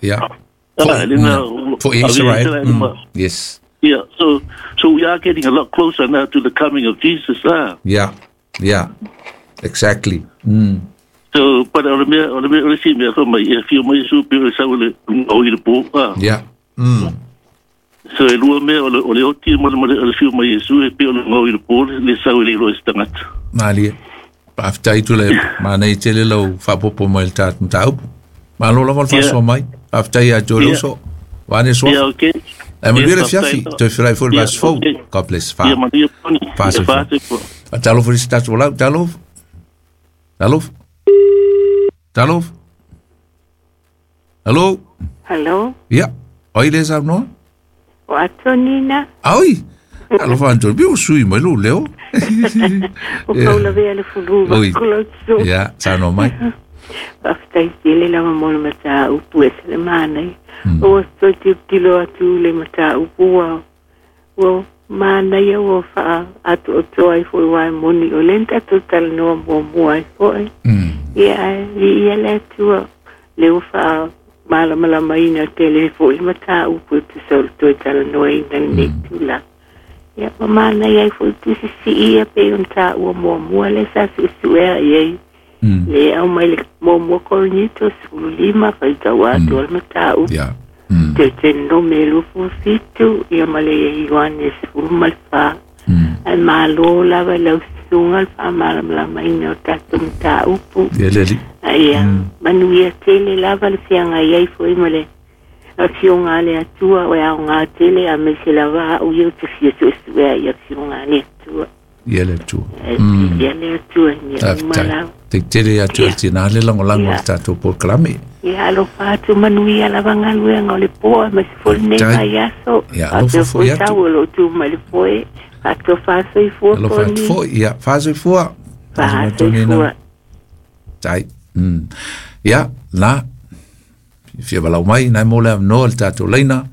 Yeah. For Israel. Yes. Yeah, so we are getting a lot closer now to the coming of Jesus. Yeah, yeah, exactly. So, but o le mea o le isi mea fai mai e afio mai Iesu pei o le sau i le gao i le po. Yeah. So e lua mea o le oti ma le afio mai Iesu e pei o le gao i le po le sau e le iloa e se tagata. Malie. Faafetai Tuilaepa. Manaia tele lau faapopo mai le tatou mataupu. Malo lava le faasoa mai. Faafetai ia te oe le uso. Vaeane suafa. Yeah, okay. Ae manuia le afiafi. Toe feiloai foi i le vaiaso fou. God bless. Fa. Ia manuia Tony. Fa soifua. Faatalofa i le isi tatou lau. Talofa. Talofa. Talofa. Hello. Hello. Ia. O ai lea saunoa? O Antonina. Ai! Alofa Antoni, pe ua sui mai lou leo. O Kaulavea le fulu Oi. vakulau Ia, saunoa mai. Faafetai tele lava mo le mataupu e ese le manaia. Ua toe tilotilo atu le mataupu ua ua manaia ua faaatoatoa ai foi aua e moni o lea na tatou talanoa muamua ai foi. Ia ae viia le Atua lea ua faamalamalamaina tele foi le mataupu e tusa o le toe talanoaina i lenei tulaga. Ia ua manaia ai foi tusi sii ia pei ona taua muamua lea sa suesuea i ai le aumai le muamua Korinito 15 faitau atoa le mataupu. Deuteronome 27 ia ma le Ioane 14. Ae malo lava i lau susuga le faamalamalamaina o tatou mataupu. Ia le alii. Ia manuia tele lava le feagai ai foi ma le Afioga a le Atua o e aoga tele aemaise lava au ia ou te fia suesuea i Afioga a le Atua. Ia le Atua. Ia le Atua i mea uma lava. Faafetai tele ia te oe tina le lagolago i le tatou polokalame. Ia alofa atu manuia lava galuega o le po aemaise foi lenei vaiaso. Ia alofa foi atu. Tau o lo o tu mai le foe. Faatoa faasoifua. Alofa atu foi. Ia faasoifua. Faasoifua. Tai. Ia, la. Fia valaau mai, nai mo le avanoa le tatou laina.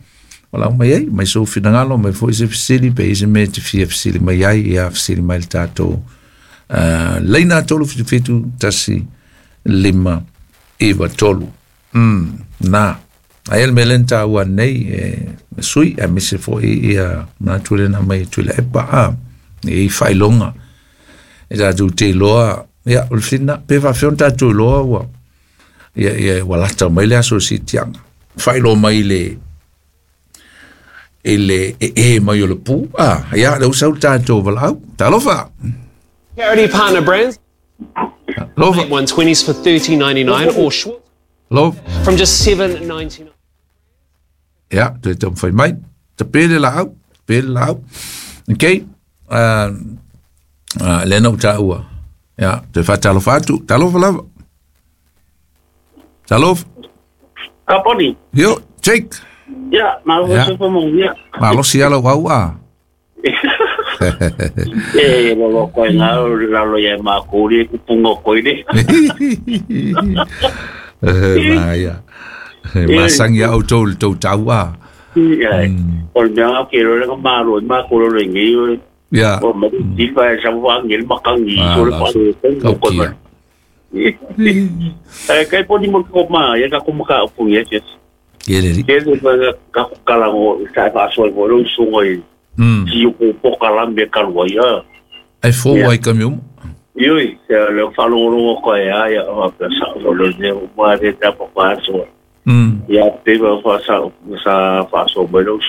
Valaau mai ai, mai sou finagalo, mai foi se fesili, pe i ai se mea e te fia fesili mai ai, ia fesili mai le tatou laina 377 1 5 9 3. Na, aia le mea lea na taua nei e sui, aemaise foi ia manatu lea na aumai e Tuilaepa, a, e i ai faailoga. E tatou te iloa, ia, o le fesili lena, pe faapefea ona tatou iloa ua, ia, ia, ua lata mai le aso o le siitiaga. Faailoa mai le, i le ee mai o le pu. Ah, ia, lea ua sau le tatou valaau. Talofa! Charity partner brands. Alofa. 120s for $30.99 or Schwartz Alofa. from just $7.99. Ia, toe taumafai mai. Tape le laau, tape le laau. Okay. Lea na ou taua. Ia, toe faatalofa atu. Talofa lava. Talofa. Kaponi. Yo, Jake. Ya, malo Ya. se fo mo ya. Malosi ala au a. E lo lo ko nga la lo ya ma ko ri ku pungo ko ile. Ma ia. Masangi au tou le tou tau a. Ya. O mea ke lo le ma lo ma ko lo le ngi. Ya. O ma ti fa sa wa ngi ma kang ngi so le pa Kau ko kia. Eh kai poni mo ko ma ya ka ko ma ka pu yes yes. Ia le li. Ke le pa ka ko kala ngo sa fa so mo lo su ngo i. Ti ko po kala me ka lo ya. Ai fou ai ka mi uma. Ioi, se le fa lo lo ko ya ya o pa sa lo lo ne o ma de ta pa pa so. Ya pe ba fa sa sa fa so mo lo.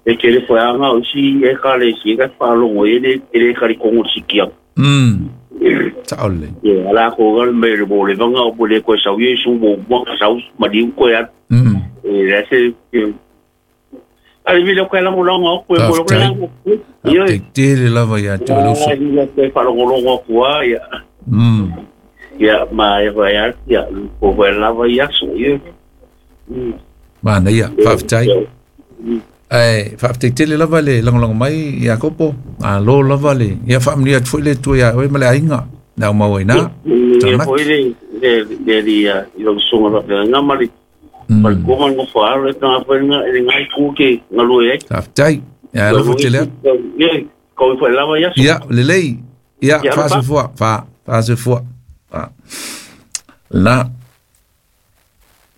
E ke le fa nga o si e ka le si ka fa lo ngo e le le ka ri kongo si kia. Sa ole. Ye ala ko ga me le bo le nga o le ko sa ye su mo mo sa ma di ko ya. E la se Ale vi le ko la mo longo ko ko ko la. Ioi. Te tele lava ia te o uso. Ia te fa longo longo ko ia. Ia ma e va ia ia ko va lava ia so ia. Mana ia, faafetai. Ae faafetai tele lava le lagolago mai Iakopo. Malo lava le ia faamanuia atu foi le Atua iā oe ma le aiga. Le au mau ai ina. Ia foi le le le ia i lo sunga va nga ma le ma le koma ngo fa le tanga foi nga le ngai ku ke ngalue ai. Faafetai. Ia alofa tele atu. Ia ko foi lava ia. Ia lelei. Ia faasoifua. Fa faasoifua. Fa. La.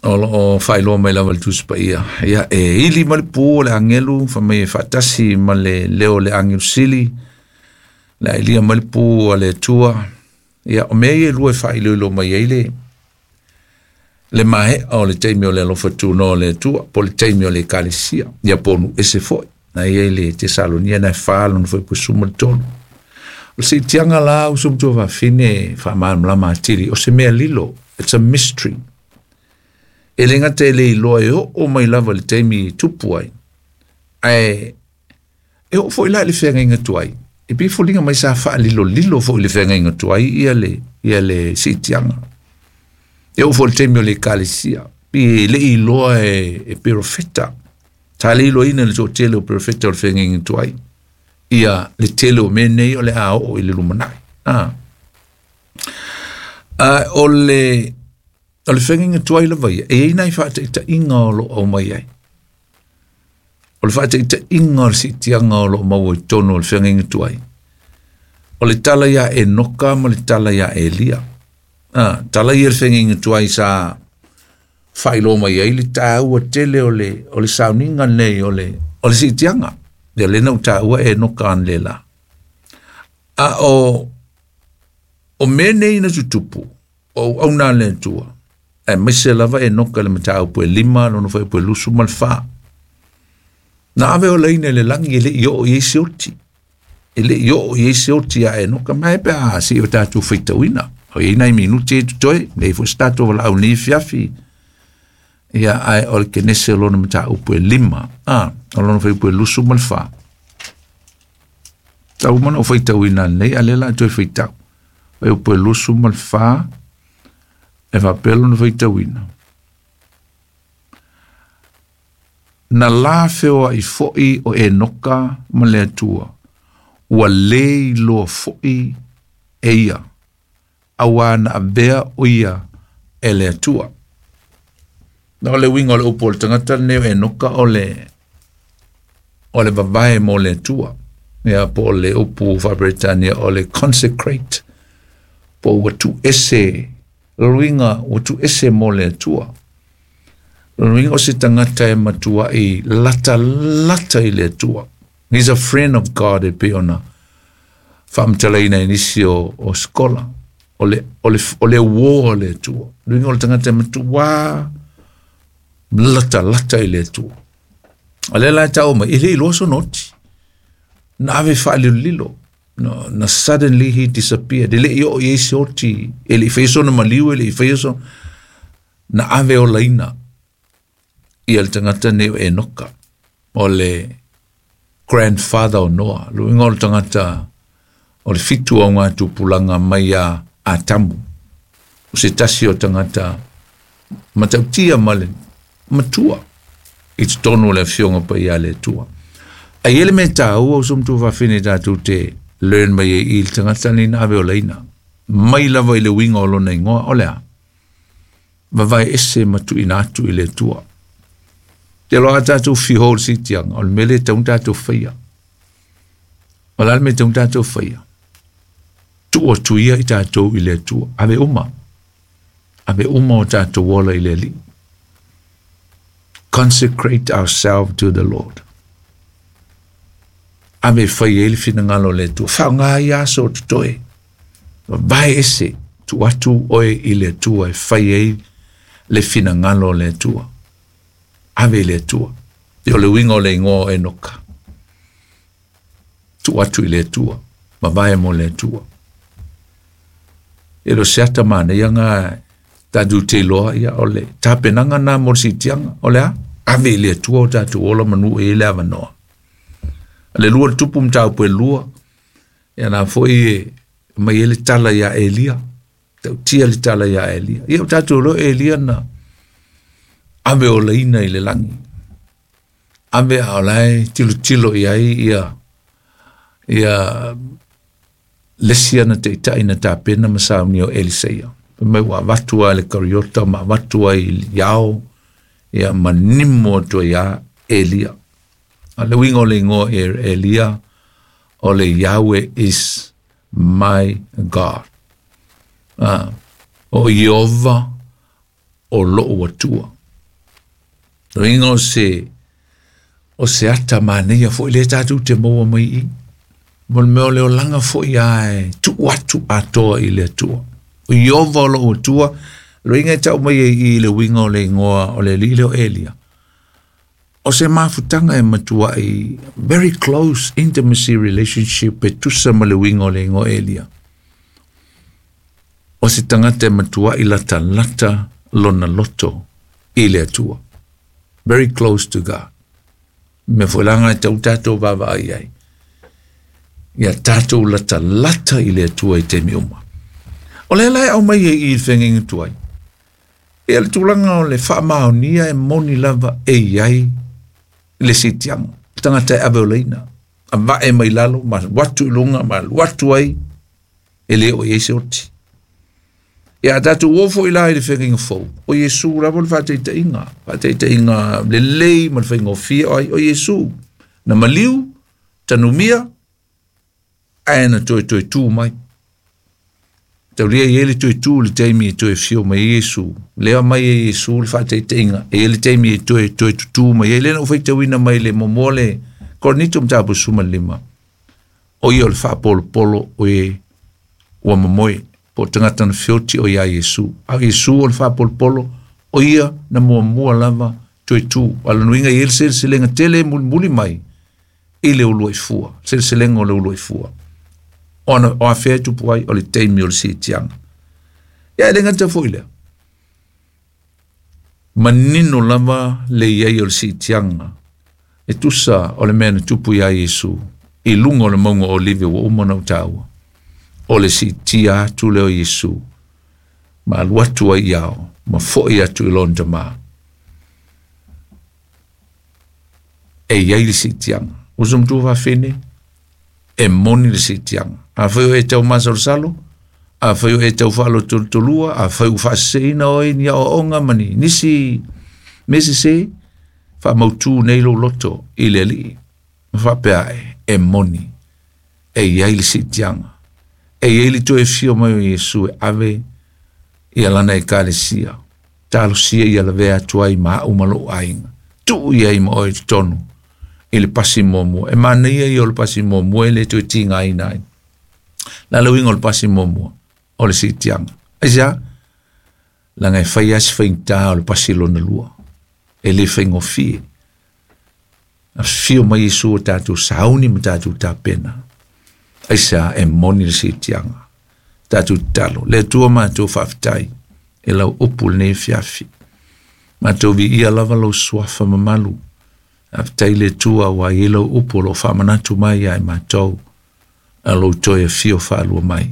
O loo faailoa mai lava le Tusi Paia. Ia, e ili ma le pū o le agelu, fai mai e faatasi ma le leo o le agelu sili, le ailia mai le pū a le Atua. Ia, o mea ia e lua e faailoilo mai ai le le maea o le taimi o le alofa tunoa o le Atua, po o le taimi o le Ekalesia, ia po o nuu ese foi. Na i ai le Tesalonia na e 4 lona fuaiupu 13. O le siitiaga la uso ma tuafafine e faamalamalama atili, o se mea lilo, it's a mystery. E le gata e le iloa e oo mai lava i le taimi e tupu ai, ae e oo foi la i le feagaiga tuai. E pei e foliga mai sa faalilolilo foi i le feagaiga tuai ia le, ia le siitiaga. E oo foi i le taimi o le Ekalesia, pei e le i iloa e, e perofeta. Sa le iloaina e le toatele o perofeta o le feagaiga tuai ia le tele o mea nei o le a oo i le lumanai. Ah. O le O le feagaiga tuai lava ia, e i ai nai faataitaiga o lo o aumai ai. O le faataitaiga o le siitiaga o lo o maua i totonu o le feagaiga tuai, o le tala iā Enoka ma le tala iā Elia. Ah, tala ia le feagaiga tuai sa faailoa mai ai le taua tele o le, o le sauniga lenei o le, o le siitiaga. Ia lea na ou taua Enoka analeila. A o, o mea nei na tutupu, o auauna a le Atua, aemaise lava Enoka i le mataupu e 5, lona fuaiupu e 24. Na ave olaina i le lagi e le i oo i ai se oti. E le i oo i ai se oti iā Enoka, mai pe a se i o tatou faitauina. O i ai nai minuti e totoe, nei foi se tatou valaau nei afiafi. Ia, ae o le Kenese o lona mataupu e 5, a, o lona fuaiupu e 24. Tau uma ona ou faitauina nei, a o lea o le a toe faitau. Fuaiupu e 24, e faapea lona faitauina. Na la feoai foi o Enoka ma le Atua, ua lē iloa foi e ia, auā na avea o ia e le Atua. Na o le uiga o le upu o le tagata lenei o Enoka o le o le vavae mo le Atua. Ia po o le upu faa-Peretania o le consecrate, po ua tuuese, lona uiga ua tuuese mo le Atua. Lona uiga o se tagata e matuai latalata i le Atua. He's a friend of God e pei ona faamatalaina e nisi o, o skola. O le, o le, o le uō o le Atua. Lona uiga o le tagata e matuā latalata i le Atua. O lea la e tau mai, e le iloa sona oti. Na ave faalilolilo. No, na suddenly he disappeared. E le i oo i ai se oti, e le i faia sona maliu, e le i faia sona... Na ave olaina ia le tagata nei o Enoka, o le grandfather o Noa, le uiga o le tagata o le fitu o ngā tupulaga mai iā Atamu, o se tasi o tagata matautia ma le matua i totonu o le Afioga Paia a le Atua. A i ai le mea taua o so matua faafine tatou te learn mai ai i le tagata nei na ave olaina, mai lava i le uiga o lona igoa, o le a? Vavae ese ma tuuina atu i le Atua. Te loa a tatou whiho o le siitiaga, o le mea lea e tatau ona tatou faia. O le a le mea e tatau ona tatou faia? Tuu atu ia i tatou i le Atua. Ave uma. Ave uma o tatou ola i le Alii. Consecrate ourselves to the Lord. Ave e fai ai le finagalo o le Atua. Faaaoga ia aso o totoe. Vavae ese, tuu atu oe i le Atua e fai ai le finagalo o le Atua. Ave i le Atua. Ia o le uiga o le igoa o Enoka. Tuu atu i le Atua. Vavae mo le Atua. E le o se ata manaia nga tatou te iloa, ia, o le tapenaga na mo le siitiaga, o le a? Ave i le Atua o tatou ola manu e i ai le avanoa. Le lua le tupu mataupu e lua, ia na foi e mai ai le tala iā Elia, tautia le tala iā Elia. Ia o tatou iloa Elia na ave olaina i le lagi. Ave a o la e tilotilo i ai ia, ia le isi ana taitai na tapena ma saunia o Eliseia. Fai mai ua avatu lava i le kariota ma avatu ai i ao, ia ma nimo atu ai ia Elia. A le uiga o le igoa e Elia, o le Yahweh is my God. O Ieova o lou Atua. Loiga o se ata manaia fo'i lea tatou te maua mai i mo le mea o le olaga fo'i ae tuu atu atoa i le Atua. O Ieova o lou Atua, loiga e tau mai ai i le uiga o le igoa o le alii lea o Elia. O se mafutaga e matuai very close intimacy relationship e tusa ma le uiga o le igoa Elia. O se tagata e matuai latalata lona loto i le Atua. Very close to God. Mea foi laga e tau tatou vaavaai ai. Ia tatou latalata i le Atua i taimi uma. O lea la e aumai ai i le feagaiga tuai. Ia le tulaga o le faamaonia e moni lava e i ai le siitiaga. Tagata e ave o laina. A vae mai lalo, ma alu atu i luga, ma alu atu ai, e le o i ai se oti. Ia a tatou o foi la i le feagaiga fou, o Iesu lava le faataitaiga, faataitaiga lelei ma le faigofie o ai, o Iesu. Na maliu, tanumia, ae na toe toe tu mai. Taulia i ai le toe tu le taimi e toe fio mai ai Iesu. Lea mai e Iesu le faataitaiga, e i ai le taimi e toe toe tutū mai ai. Lea na ou faitauina mai le muamua le Korinito mataupu 15. O ia o le faapolopolo o e ua momoe po o tagata na feoti o iā Iesu. A o Iesu o le faapolopolo, o ia na muamua lava toe tu. A o lona uiga e i ai le seleselega tele e mulimuli mai i le uluai fua, seleselega o le uluai fua. Ona o afea e tupu ai o le taimi o le siitiaga. Ia e le gata foi lea. Manino lava le i ai o le siitiaga e tusa o le mea na tupu iā Iesu i luga o le mauga o Olive ua uma ona ou taua. O le siitia atu lea o Iesu ma alu atu ai i ao ma fo'i atu i lona Tamā. E i ai le siitiaga. Uso matua faafine, e moni le siitiaga. Afai o e tau masalosalo, afai o e tau faalotolotolua, afai ua faaseseina oe i ni aoaoga ma ni nisi mea sesē, faamautū nei lou loto i le Alii ma faapea ae, e moni, e i ai le siitiaga. E i ai le toe afio mai o Iesu e ave ia lana ekalesia. Talosia ia lavea atu ai ma au ma lou aiga. Tuu i ai ma oe i totonu i le pasi muamua. E manaia ia o le pasi muamua e le toe tigaina ai. La le uiga o le pasi muamua o le siitiaga. Aisea? Leaga e fai lava si faigata o le pasi lona lua. E le faigofie. Afifio mai Iesu o tatou sauni ma tatou tapena. Aisea? E moni le siitiaga. Tatou tatalo. Le Atua matou faafetai e lau upu lenei afiafi. Matou viia lava lou suafa mamalu. Faafetai le Atua ua i ai lau upu o lo o faamanatu mai ia i matou a lou toe afio faalua mai.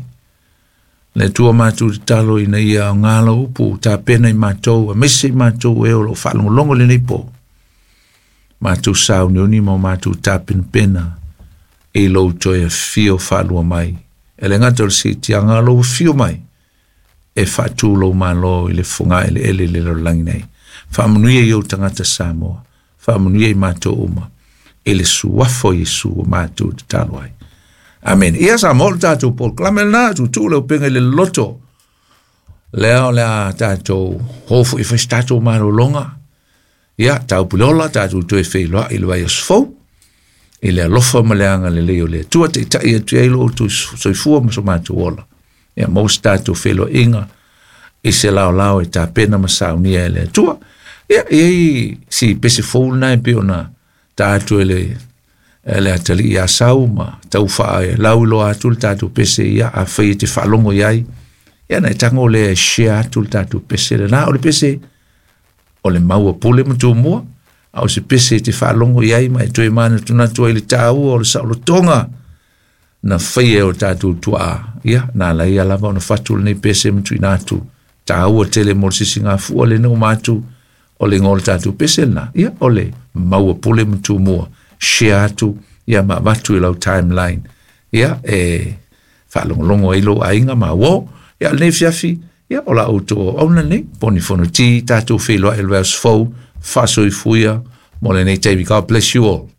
Le Atua matou tatalo ina ia aoga lau upu tapena i matou, aemaise i matou e o lo o faalogologo lenei po. Matou sauniuni ma o matou tapenapena i lou toe afio faalua mai. E le gata o le siitiaga a lou afio mai e faatu lou Malo i le fogaeleele i le lalolagi nei. Faamanuia i ou tagata Samoa, faamanuia i matou uma i le suafa o Iesu ua matou tatalo ai. Amene. Ia Samoa o le tatou polokalame lena, tuutuu le upega i le loloto. Lea o le a tatou o foi e fai se tatou malologa. Ia, taupuleola, tatou toe feiloai i le vaiaso fou. I le alofa ma le agalelei o le Atua, taitai atu ai lo outou soifua ma so matou ola. Ia, maua se tatou feiloaiga i se laolao e tapena ma saunia e le Atua. Ia, e i ai si pese fou lena e pei ona ta atu e le e le atalii ia Sau ma tau faalauiloa atu le tatou pese ia afai e te faalogo i ai. Ia na e tago lea e share atu le tatou pese lena. O le pese o le maua pule ma tumua, a o se pese e te faalogo i ai ma e toe manatunatu ai le taua o le saolotoga na faia e o tatou tuaa. Ia, na ala ia lava ona fatu lenei pese ma tuuina atu. Taua tele mo le sisigafua lena uma atu o le igoa o le tatou pese lena. Ia, o le maua pule ma tumua. Share atu, ia ma avatu i lau timeline. Ia, e faalogologo ai lou aiga ma uo. Ia, lenei afiafi, ia, o la outou auauna lenei, Poni Fonoti, tatou feiloai i le vaiaso fou, faasoifuia mo lenei taimi. God bless you all.